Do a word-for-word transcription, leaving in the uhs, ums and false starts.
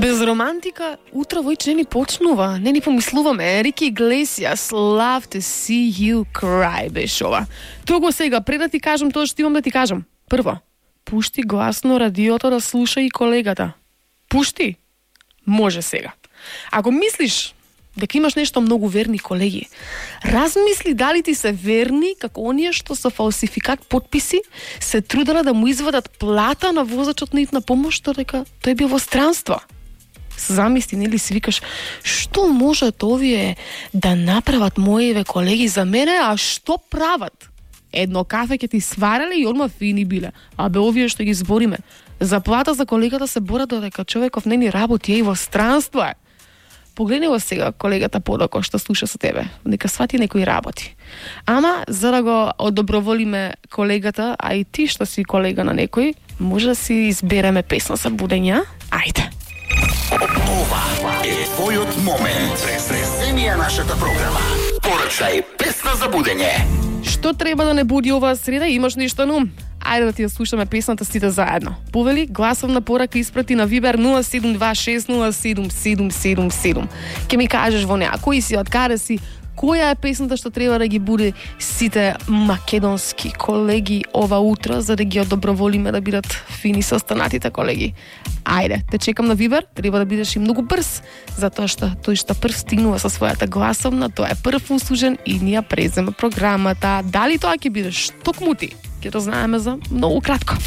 Без романтика, утро војче не ни почнува, не ни помислуваме. Рики Иглесиас, love to see you cry, беше ова. Туку сега, пред да ти кажам тоа што имам да ти кажам. Прво, пушти гласно радиото да слуша и колегата. Пушти. Може сега. Ако мислиш дека имаш нешто многу верни колеги, размисли дали ти се верни како оние што со фалсификат потписи се трудела да му извадат плата на возачот на итна помош, дека тој бил во странство. Замисли, нели си викаш, што можат овие да направат моите колеги за мене, а што прават? Едно кафе ќе ти свареле и одма фини биле. А бе овие што ги збориме. За плата за колегата се борат додека човеков не ни работи е и во странство е. Погледни го сега колегата подако што слуша со тебе. Нека свати некој работи. Ама, за да го одоброволиме колегата, а и ти што си колега на некој, може да си избереме песна за будење. Ајде. Ова е твојот момент. Преземи ја нашата програма. Порачај песна за будење. Што треба да не буди оваа среда? Имаш нешто на ум? Ајде да ти ја слушаме песната сите заедно. Повели, гласовна порака испрати на Вибер нула седум два шест нула седум седум седум седум. Ке ми кажеш во неа кој си, од каде си, која е песната што треба да ги буди сите македонски колеги ова утро, за да ги одоброволиме да бидат фини со останатите колеги. Ајде, те чекам на Вибер, треба да бидеш и многу брз, затоа што тој што прв стигнува со својата гласовна, тоа е прв услужен и ние презема програмата. Дали тоа ќе бидеш токму ти? Ќе то знаеме за многу кратко.